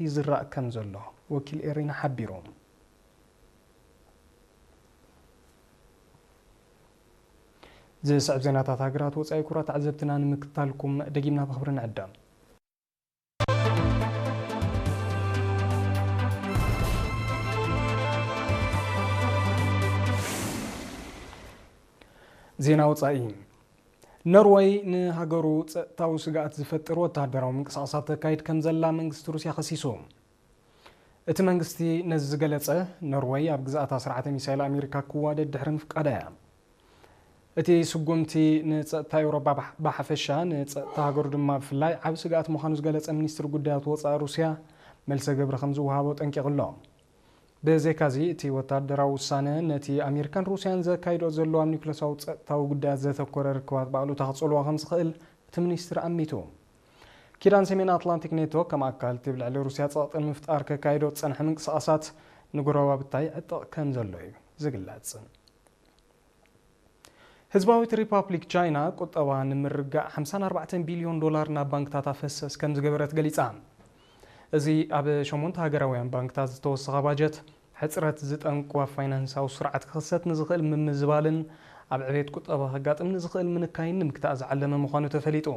ይዝራእ ከም ዘሎ ወኪል ኤሪና ሓቢሩ። ዝስዕብ ዜናታት ሃገራት ወጻኢ ኩራት ተዓዘብትና ንምክታልኩም ደጊምና ብኽብሪ ንዕደም። ዜና ወጻኢ። ኖርወይ ንሃገሩ ጸጥታዊ ስግኣት ዝፈጥር ወተሃደራዊ ምንቅስቓሳት ተካይድ ከም ዘላ መንግስቲ ሩስያ ከሲሱ። እቲ መንግስቲ ነዚ ዝገለጸ፣ ኖርወይ ኣብ ግዝኣታ ስርዓተ ሚሳይል ኣሜሪካ ክዋደድ ድሕሪ ምፍቃዳ እያ። እቲ ስጉምቲ ንጸጥታ ኤውሮጳ ብሓ-፣ ብሓፈሻ፣ ንጸጥታ ሃገሩ ድማ ብፍላይ ዓቢ ስግኣት ምዃኑ ዝገለጸ ሚኒስትሪ ጉዳያት ወጻኢ ሩስያ፣ መልሰ ግብሪ ከም ዝወሃቦ ጠንቂቑ ኣሎ። ብዘይካዚ፣ እቲ ወተሃደራዊ ውሳነ ነቲ ኣሜሪካን ሩስያን ዘካይዶ ዘለዋ ኣብ ኒውክለሳዊ ጸጥታዊ ጉዳያት ዘተኮረ ርክባት ብኣሉታ ክጸልዋ ከም ዝኽእል እቲ ሚኒስትሪ ኣሚቱ። ኪዳን ሰሜን ኣትላንቲክ ኔቶ ከም ኣካል እቲ ብልዕሊ ሩስያ ጸቕጢ ንምፍጣር ከካይዶ ዝጸንሐ ምንቅስቓሳት ንጎረባብታ ይዕጥቕ ከም ዘሎ እዩ ዝግለጽ። ህዝባዊት ሪፓብሊክ ቻይና ቁጠባ ንምርጋእ ሓምሳን ኣርባዕተን ቢልዮን ዶላር ናብ ባንክታት ኣፈሰስ ከም ዝገበረት ገሊጻ። እዚ ኣብ ሸሞንተ ሃገራውያን ባንክታት ዝተወሰኸ ባጀት፣ ሕጽረት ዝጠንቁ ኣብ ፋይናንሳዊ ስርዓት ክኽሰት ንዝኽእል ምምዝባልን ኣብ ዕቤት ቁጠባ ከጋጥም ንዝኽእል ምንካይን ንምግታእ ዝዓለመ ምዃኑ ተፈሊጡ።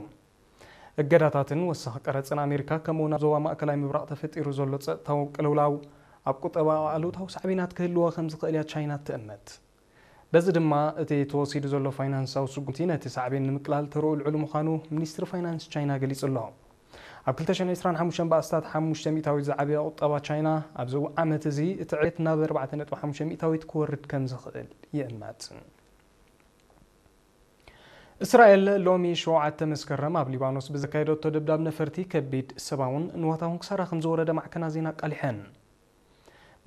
እገዳታትን ወሳኺ ቀረጽን ኣሜሪካ፣ ከምኡ'ውን ኣብ ዞባ ማእከላይ ምብራቕ ተፈጢሩ ዘሎ ጸጥታዊ ቅልውላው፣ ኣብ ቁጠባ ኣሉታዊ ሳዕቤናት ክህልዎ ከም ዝኽእል እያ ቻይና ትእምት። በዚ ድማ፣ እቲ ተወሲዱ ዘሎ ፋይናንሳዊ ስጉምቲ ነቲ ሳዕቤን ንምቅላል ተርኡ ልዑል ምዃኑ ሚኒስትሪ ፋይናንስ ቻይና ገሊጹ ኣሎ። ኣብ ክልተ ሽሕን ዕስራን ሓሙሽተን ብኣስታት ሓሙሽተ ሚእታዊት ዝዓበየ ቁጠባ ቻይና፣ ኣብዚ ዓመት እዚ እቲ ዕቤት ናብ ኣርባዕተ ነጥቢ ሓሙሽተ ሚእታዊት ክወርድ ከም ዝኽእል ይእመት። እስራኤል ሎሚ ሸውዓተ መስከረም ኣብ ሊባኖስ ብዘካየደቶ ደብዳብ ነፈርቲ ከቢድ ሰብኣውን ንዋታውን ክሳራ ከም ዝወረደ ማዕከናት ዜና ኣቃሊሐን።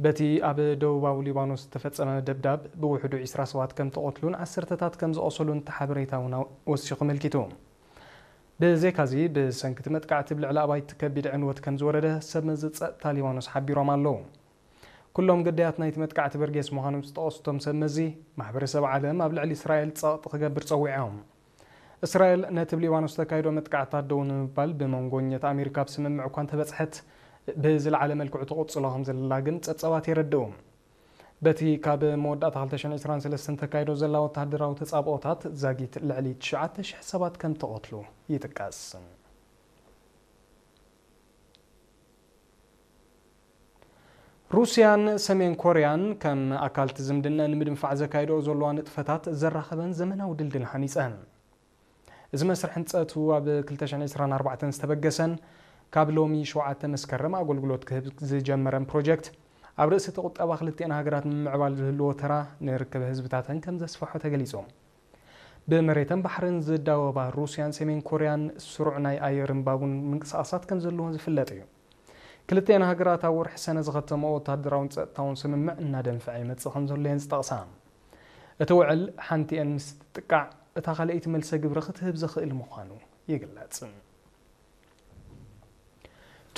በቲ ኣብ ደቡባዊ ሊባኖስ ዝተፈጸመ ደብዳብ ብውሕዱ ዕስራ ሰባት ከም ተቐትሉን ዓሰርተታት ከም ዝቖሰሉን እቲ ሓበሬታ እውን ወሲኹ ኣመልኪቱ። ብዘይካዚ፣ ብሰንኪ እቲ መጥቃዕቲ ኣብ ልዕሊ ኣባይቲ ከቢድ ዕንወት ከም ዝወረደ ሰብ መዚ ጸጥታ ሊባኖስ ሓቢሮም ኣለዉ። ኩሎም ግዳያት ናይቲ መጥቃዕቲ በርጌስ ምዃኖም ዝጠቐሱ እቶም ሰብ መዚ፣ ማሕበረሰብ ዓለም ኣብ ልዕሊ እስራኤል ጸቕጢ ክገብር ጸዊዖም። እስራኤል ነቲ ኣብ ሊባኖስ ዝተካየዶ መጥቃዕትታት ደው ንምባል ብመንጎኛታት ኣሜሪካ ኣብ ስምምዕ እኳ እንተበጽሐት፣ ብዝለዓለ መልክዑ ትቕጽሎ ከም ዘላ ግን ጸብጻባት የረድኡ። በቲ ካብ መወዳእታ ክልተ ሽሕን ዕስራን ሰለስተን ተካይዶ ዘላ ወተሃደራዊ ተጻብኦታት ዛጊት ልዕሊ ትሽዓተ ሽሕ ሰባት ከም ተቐትሉ ይጥቀስ። ሩስያን ሰሜን ኮርያን ከም ኣካል እቲ ዝምድና ንምድንፋዕ ዘካይድኦ ዘለዋ ንጥፈታት ዘራኸበን ዘመናዊ ድልድል ሃኒጸን። እዚ መስርሕ ህንጸቱ ኣብ ክልተ ሽሕን ዕስራን ኣርባዕተን ዝተበገሰን ካብ ሎሚ ሸውዓተ መስከረም ኣገልግሎት ክህብ ዝጀመረን ፕሮጀክት፣ ኣብ ርእሲ እቲ ቁጠባ ክልቲኣን ሃገራት ንምምዕባል ዝህልዎ ተራ ንርክብ ህዝብታተን ከም ዘስፍሖ ተገሊጹ። ብመሬትን ባሕርን ዝዳወባ ሩስያን ሰሜን ኮርያን ስሩዕ ናይ ኣየርን ባቡን ምንቅስቓሳት ከም ዘለወን ዝፍለጥ እዩ። ክልቲኣን ሃገራት ኣብ ወርሒ ሰነ ዝኸተመኦ ወተሃደራውን ጸጥታውን ስምምዕ እናደንፈዐ ይመጽእ ከም ዘሎ እየን ዝጠቕሳ። እቲ ውዕል ሓንቲአን ምስ ትጥቃዕ፣ እታ ካልኣይቲ መልሰ ግብሪ ክትህብ ዘኽእል ምዃኑ ይግለጽ።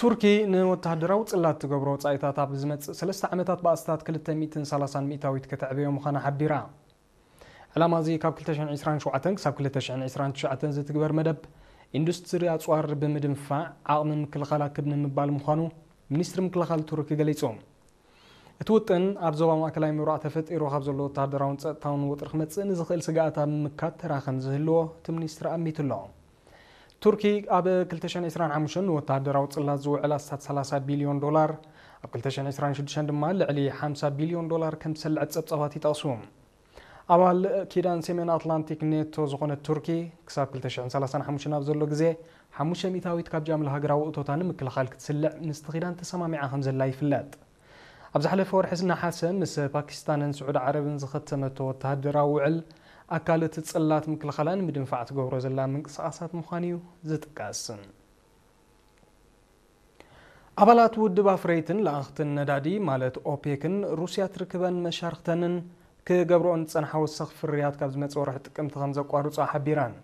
ቱርኪ ንወተሃደራዊ ጽላት ትገብሮ ወጻኢታት ኣብ ዝመጽእ ሰለስተ ዓመታት ብኣስታት ክልተ ሚእትን ሰላሳን ሚእታዊት ከተዕበዮ ምዃና ሓቢራ። ዕላማ እዚ ካብ ክልተ ሽሕን ዕስራን ሸውዓተን ክሳብ ክልተ ሽሕን ዕስራን ትሽዓተን ዝትግበር መደብ ኢንዱስትሪ ኣጽዋር ብምድንፋዕ ዓቕሚ ምክልኻላ ክብ ንምባል ምዃኑ ሚኒስትሪ ምክልኻል ቱርኪ ገሊጹ። እቲ ውጥን ኣብ ዞባ ማእከላይ ምብራቕ ተፈጢሩ ካብ ዘሎ ወተሃደራውን ጸጥታውን ወጥሪ ክመጽእ ንዝኽእል ስግኣት ኣብ ምምካት ተራ ከም ዝህልዎ እቲ ሚኒስትሪ ኣሚቱ ኣሎ። ቱርኪ ኣብ ክልተ ሽሕን ዕስራን ሓሙሽተን ንወተሃደራዊ ጽላት ዝውዕል ኣስታት ሰላሳ ቢልዮን ዶላር፣ ኣብ ክልተ ሽሕን ዕስራን ሽዱሽተን ድማ ልዕሊ ሓምሳ ቢልዮን ዶላር ከም ዝሰልዐት ጸብጻባት ይጠቕሱ። ኣባል ኪዳን ሰሜን ኣትላንቲክ ኔቶ ዝኾነት ቱርኪ፣ ክሳብ ክልተ ሽሕን ሰላሳን ሓሙሽተን ኣብ ዘሎ ግዜ፣ ሓሙሽተ ሚእታዊት ካብ ጃምላ ሃገራዊ እቶታ ንምክልኻል ክትስልዕ ምስቲ ኪዳን ተሰማሚዓ ከም ዘላ ይፍለጥ። ኣብ ዝሓለፈ ወርሒ ነሓሰ ምስ ፓኪስታንን ስዑዲ ዓረብን ዝኸተመቶ ወተሃደራዊ ውዕል፣ ኣካል እቲ ጽላት ምክልኻላ ንምድንፋዕ ትገብሮ ዘላ ምንቅስቓሳት ምዃኑ እዩ ዝጥቀስ። ኣባላት ውድብ ኣፍረይትን ለኣኽትን ነዳዲ ማለት ኦፔክን ሩስያ ትርክበን መሻርኽተንን ክገብርኦን ዝጸንሓ ወሰኽ ፍርያት ካብ ዝመጽእ ወርሒ ጥቅምቲ ከም ዘቋርጾ ሓቢረን።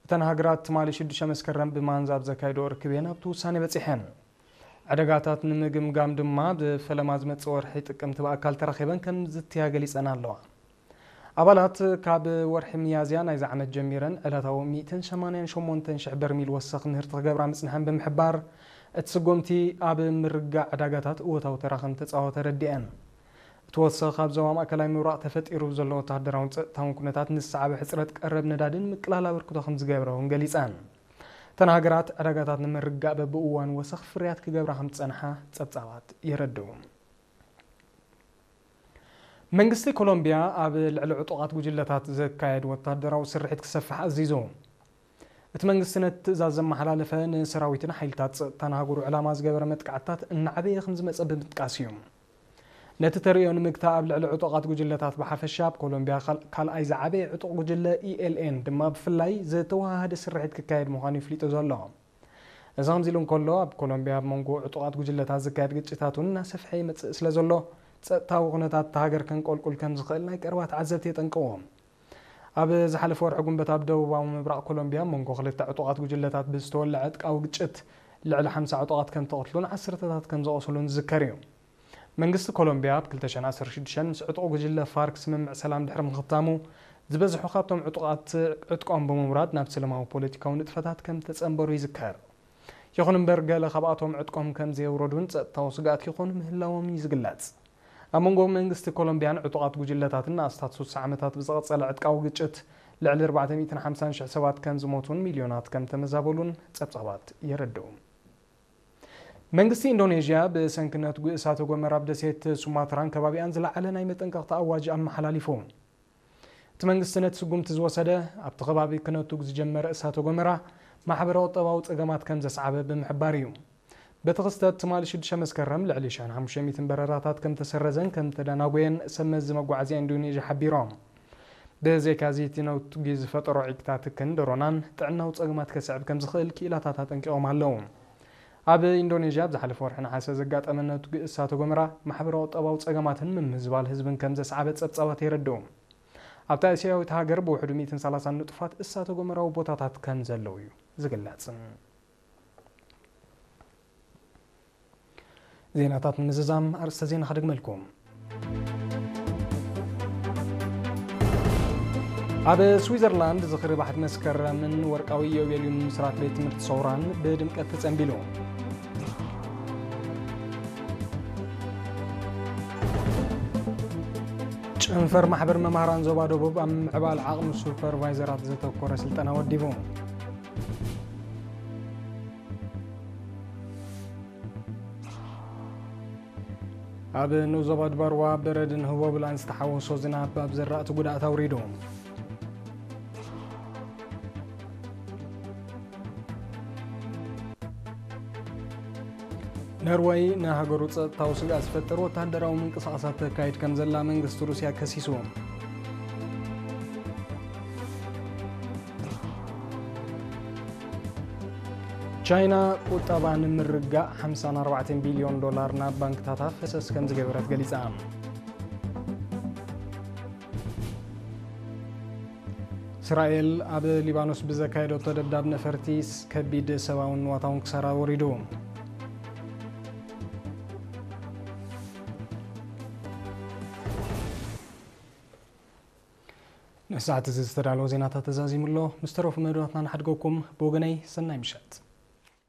እተን ሃገራት ትማሊ ሽዱሽተ መስከረም ብማንዛ ኣብ ዘካየድኦ ርክብ እየን ኣብቲ ውሳኔ በጺሐን። ዕደጋታት ንምግምጋም ድማ ብፈለማ ዝመጽእ ወርሒ ጥቅምቲ ብኣካል ተራኺበን ከም ዝትያ ገሊጸን ኣለዋ። ኣባላት ካብ ወርሒ ሚያዝያ ናይዚ ዓመት ጀሚረን ዕለታዊ ሚእትን ሰማንያን ሸሞንተን ሽሕ በርሚል ወሰኽ ምህርቲ ክገብራ ምጽንሐን ብምሕባር፣ እቲ ስጉምቲ ኣብ ምርጋእ ዕዳጋታት እወታዊ ተራ ከም ተጻወተ ረዲአን። እቲ ወሰኽ ኣብ ዞባ ማእከላይ ምብራቕ ተፈጢሩ ዘሎ ወተሃደራውን ጸጥታውን ኩነታት ንዝሰዓበ ሕጽረት ቀረብ ነዳድን ምቅላል ኣበርክቶ ከም ዝገብረ እውን ገሊጸን። እተን ሃገራት ዕዳጋታት ንምርጋእ በብእዋን ወሰኽ ፍርያት ክገብራ ከም ዝጸንሓ ጸብጻባት የረድኡ። መንግስቲ ኮሎምቢያ ኣብ ልዕሊ ዕጡቓት ጉጅለታት ዘካየድ ወተሃደራዊ ስርሒት ክሰፍሕ ኣዚዙ። እቲ መንግስቲ ነቲ ትእዛዝ ዘመሓላለፈ ንሰራዊትን ሓይልታት ጸጥታን ሃገሩ ዕላማ ዝገበረ መጥቃዕትታት እናዓበየ ከም ዝመጸ ብምጥቃስ እዩ። ነቲ ተርእዮ ንምግታእ ኣብ ልዕሊ ዕጡቓት ጉጅለታት ብሓፈሻ ኣብ ኮሎምቢያ ካል-፣ ካልኣይ ዝዓበየ ዕጡቕ ጉጅለ ኢኤልኤን ድማ ብፍላይ ዝተወሃሃደ ስርሒት ክካየድ ምዃኑ ይፍሊጡ ዘሎ። እዚ ከምዚ ኢሉ እንከሎ፣ ኣብ ኮሎምቢያ ኣብ መንጎ ዕጡቓት ጉጅለታት ዝካየድ ግጭታት እውን እናሰፍሐ ይመጽእ ስለ ዘሎ፣ ጸጥታዊ ኩነታት እታ ሃገር ከንቆልቁል ከም ዝኽእል ናይ ቀረባ ተዓዘብቲ የጠንቅቑ። ኣብ ዝሓለፈ ወርሒ ጉንበት ኣብ ደቡባዊ ምብራቕ ኮሎምቢያ መንጎ ክልተ ዕጡቓት ጉጅለታት ብዝተወልዐ ዕጥቃዊ ግጭት ልዕሊ ሓምሳ ዕጡቓት ከም ተቐትሉን ዓሰርተታት ከም ዝቖሰሉን ዝዝከር እዩ። መንግስቲ ኮሎምቢያ ኣብ ክልተ ሽሕን ዓሰርተ ሽዱሽተን ምስ ዕጡቕ ጉጅለ ፋርክ ስምምዕ ሰላም ድሕሪ ምኽታሙ፣ ዝበዝሑ ካብቶም ዕጡቓት ዕጥቆም ብምውራድ ናብ ሰላማዊ ፖለቲካዊ ንጥፈታት ከም ተጸንበሩ ይዝከር። ይኹን እምበር፣ ገለ ካብኣቶም ዕጥቆም ከም ዘየውረዱን ጸጥታዊ ስግኣት ይኾኑ ምህላዎም እዩ ዝግለጽ። ኣብ መንጎ መንግስቲ ኮሎምቢያን ዕጡቓት ጉጅለታትን ንኣስታት ስሳ ዓመታት ብዝቐጸለ ዕጥቃዊ ግጭት ልዕሊ ኣርባዕተ ሚእትን ሓምሳን ሽሕ ሰባት ከም ዝሞቱን ሚልዮናት ከም ተመዛበሉን ጸብጻባት የረድኡ። መንግስቲ ኢንዶኔዥያ ብሰንኪ ነትጒ እሳተ ጎመራ ኣብ ደሴት ሱማትራን ከባቢኣን ዝለዓለ ናይ መጠንቀቕታ ኣዋጅ ኣመሓላሊፉ። እቲ መንግስቲ ነቲ ስጉምቲ ዝወሰደ፣ ኣብቲ ከባቢ ክነቱግ ዝጀመረ እሳተ ጎመራ ማሕበረ-ቁጠባዊ ጸገማት ከም ዘስዓበ ብምሕባር እዩ። በቲ ክስተት ትማሊ ሽዱሽተ መስከረም ልዕሊ ሽሕን ሓሙሽተ ሚእትን በረራታት ከም ተሰረዘን ከም ተደናጎየን ሰብ መዚ መጓዓዝያ ኢንዶኔዥያ ሓቢሮም። ብዘይካዚ እቲ ነውቲ ዝፈጠሮ ዒቅታትክን ደሮናን ጥዕናዊ ጸገማት ከስዕብ ከም ዝኽእል ክኢላታት ኣጠንቂቖም ኣለዉ። ኣብ ኢንዶኔዥያ ኣብ ዝሓለፈ ወርሒ ነሓሰ ዘጋጠመ ነውቲ እሳተ ጎመራ ማሕበራዊ ቁጠባዊ ጸገማትን ምምዝባል ህዝብን ከም ዘስዓበ ጸብጻባት የረድኡ። ኣብታ እስያዊት ሃገር ብውሕዱ ሚእትን ሰላሳን ንጡፋት እሳተ ጎመራዊ ቦታታት ከም ዘለዉ እዩ ዝግለጽ። ዜናታት ንምዝዛም ኣርእስተ ዜና ክድግመልኩም። ኣብ ስዊዘርላንድ ዝኽሪ ባሕቲ መስከረምን ወርቃዊ ኢዮቤልዩን ምስራት ቤት ትምህርቲ ሰውራን ብድምቀት ተጸንቢሉ። ጨንፈር ማሕበር መማህራን ዞባ ደቡብ ኣብ ምዕባል ዓቕሚ ሱፐርቫይዘራት ዘተኮረ ስልጠና ወዲቡ። ኣብ ንኡስ ዞባ ድባርዋ በረድን ህቦብላን ዝተሓወሶ ዝናብ ኣብ ዘራእቲ ጉድኣት ኣውሪዱ። ነርወይ ንሃገሩ ጸጥታዊ ስግኣት ዝፈጥር ወተሃደራዊ ምንቅስቓሳት ተካይድ ከም ዘላ መንግስቲ ሩስያ ከሲሱ። ቻይና ቁጠባ ንምርጋእ ሓምሳን ኣርባዕተን ቢልዮን ዶላር ናብ ባንክታታ ፈሰስ ከም ዝገበረት ገሊጻ። እስራኤል ኣብ ሊባኖስ ብዘካየደቶ ደብዳብ ነፈርቲ ከቢድ ሰብኣውን ንዋታውን ክሳራ ወሪዱ። ንሰዓት እዚ ዝተዳለወ ዜናታት ተዛዚሙ ኣሎ። ምስ ተረፉ መደባትና ንሓድገኩም። ብወገነይ ሰናይ ምሸት።